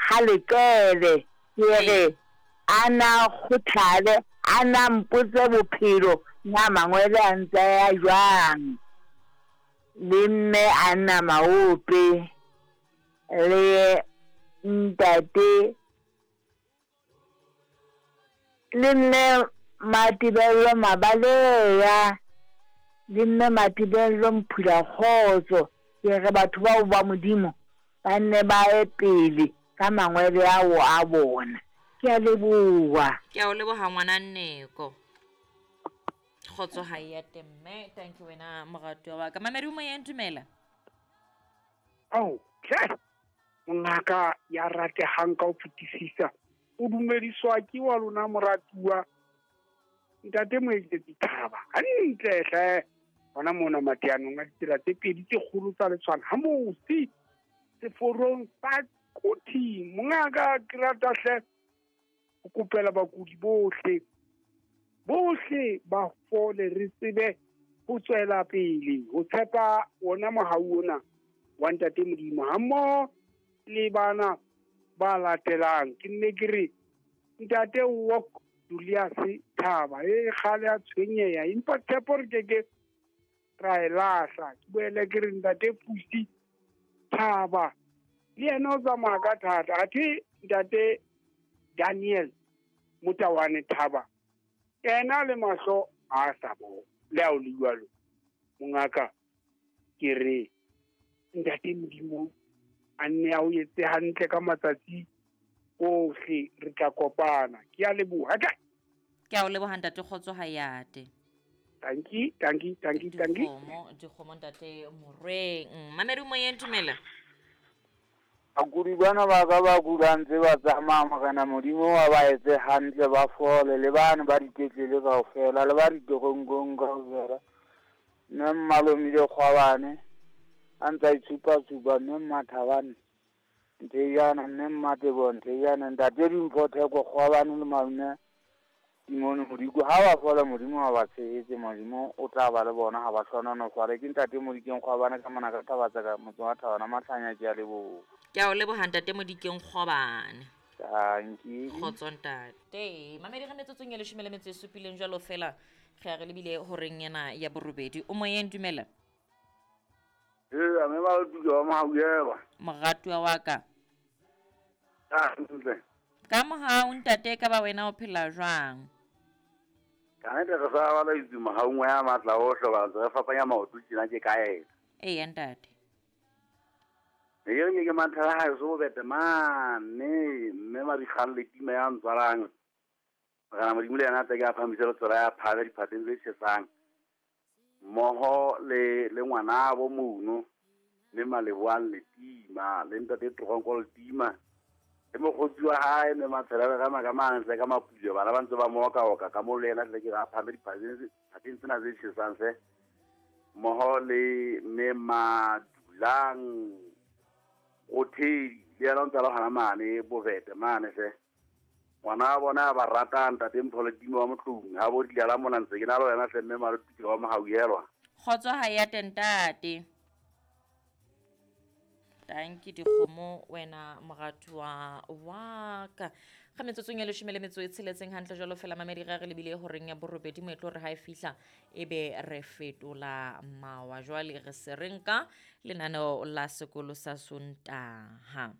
Ha Leqele, ke re a na kgothale, a na mpotse bophelo na mangwele a ntse a ya jwang. Le mme Anna Maope le ntate le mme Matebello Mabaleya le mme Matebello Mphulakgotso. Ke re batho bao ba Modimo ba nne ba ye pele ka mangwele ao a bona. Ke a leboha. Ke a o leboha ngwana Nneko. Kgotso ha e ate mme. Thank you wena moratuwa wa ka. Mamedi o moyeng dumela. Ao hle mongaka ya ratehang ka ho fetisisa o dumediswa ke wa lona moratuwa ntate Moeketsi Thaba hantle hle hona mona mateanong a ditsela tse pedi tse kgolo tsa letshwana ha mosi seforong sa Quthing. Mongaka ke rata hle ho kopela bakudi bohle bohle ba fole re tsebe ho tswela pele ho tshepa wona mohau ona wa ntate Modimo hammoho le bana ba latelang. Ke nne ke re ntate Wok Julius Thaba e kgale a tshwenyeha empa tshepo re ke ke ra e lahla. Ke boele ke re ntate Pusi Thaba le yena o tsamaya ka thata, athe ntate Daniel Motawane Thaba yena le mahlo a sa bona. Le ha o le jwalo mongaka ke re ntate Modimo a nne a o etse hantle ka matsatsi ohle, re tla kopana. Ke a leboha. Ke a o leboha ntate Kgotso Hayate. Tanki, tanki, tanki, tanki. Dikgomo, dikgomo ntate Morweng. Mamedi moyeng dumela. Bakudi bana ba ka ba kulang tse ba tsamaya Morena Modimo wa ba etse hantle ba fole le bane ba dipetlele kaofela le ba ditoronkong kaofela. Mme Mmalomile Kgwabane a ntsa itshupa-tshupa mme Mmathabane Nthejana mme Mmatebo Nthejana ntate Dimpho Theko Kgwabane le malome Simone Modiko ha ba fola Modimo ha ba tshehetse Modimo o tla ba le bona ha ba hlohonolofale. Ke ntate Modikeng Kgwabane ka mona ka Thabatseka motseng wa Thabana Mahlanya ke a leboha. Ke a o leboha ntate Modikeng Kgwabane. Tanki. Kgotso ntate. Mamedi re metsotsong e leshome le metso e supileng jwalo fela re a re lebile horeng ena ya borobedi. O moyeng dumela. Ee, mme ba tuka wa Mahauelwa. Moratuwa wa ka. Hantle. Ka mohau ntate ka ba wena o phela jwang? Ka nnete re sa bala itse mohaung wa ya matla ohle ba ntse re fapanya maoto tjena ke ka ena. Eya ntate. E re ke ke mathela ha so bete mane mme Madikgang le tima ya ntswalang. Morena Modimo le yena a tle ke a phahamise letsoho la ya phahame diphateng tse tjhesang. Mmoho le le ngwanabo mono mme Maleboang Letima le ntate Tronko Letima le mokgotsi wa hae mme Matshela le rema ka mantle ka mapule bana ba ntse ba mookaoka ka mo le yena tle ke a phahame diphateng tsena tse tjhesang hle. Mmoho le mme Madulang Rothedi le yena o ntse a le hona mane Bobete mane hle. Ngwana wa bona a ba ratang ntate Mpho Letima wa Motloung ha bo dila la mona ntse ke na le wena hle mme Malotuke wa Mohauhelwa. Kgotso ha ya te ntate. Tanki dikgomo wena moratuwa wa ka. Ga metsotsong e leshome le metso e tsheletseng hantle jwalo fela mamedi re re lebile horeng ya borobedi moetlo re ha e fihla ebe re fetola mawa. Jwale re se re nka lenaneo la sekolo sa Sontaha.